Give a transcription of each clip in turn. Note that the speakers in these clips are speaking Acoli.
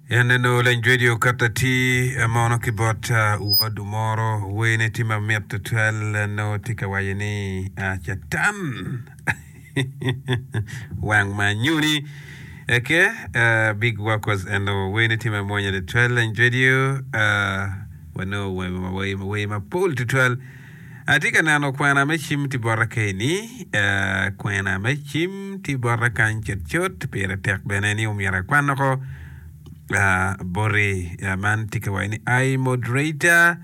En eno leny radio okato atir mono ki bot wod omoro wene tye mamit tutwal nongo tye ka waco ni catan wang ma anyuni eke big workers eno wene tye mamwonya tutwal leny radio wanongo wer mapol tutwal Atye ka neno kwena me cim tye bota keni, kwena me cim tye bota kany cutcut, pire tek bene ni omyero akwan woko boti. Man tye ka waco ni I moderator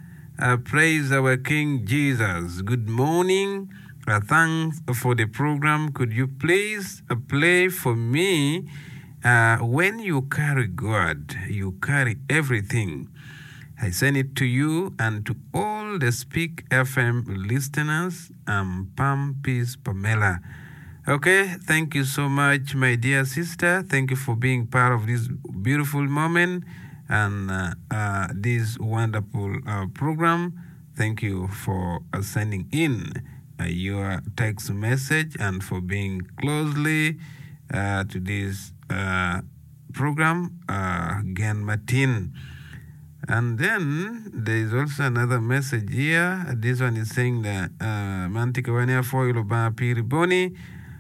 praise our king Jesus good morning thanks for the program could you please play for me when you carry God you carry everything. I send it to you and to all the Speak FM listeners am Pam Peace Pamela ok thank you so much my dear sister thank you for being part of this beautiful moment and uh, this wonderful uh, program thank you for uh, sending in uh, your text message and for being closely uh, to this uh, program uh, Gen Matin. And then there is also another message here. This one is saying that uh, man tye ka wani apwoyo Lubanga piri boni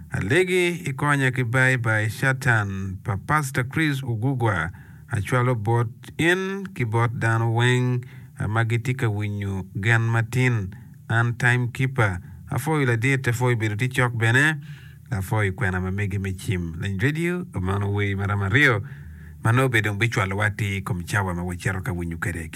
alegi ikonya ki bye bye Shatan pa Pastor Chris Ogugwa acwalo bot in ki bot dano weng uh, ma gitye ka winyo Gen Matin. An time keeper apwoyo ladit apwoyo bedo tye cok bene. Apwoyo kwena ma megi me cim lany radio mano wer maromo aryo ma nongo bene dong bicwalowa atir i kom cawa ma wacito ka winyo kwede ki.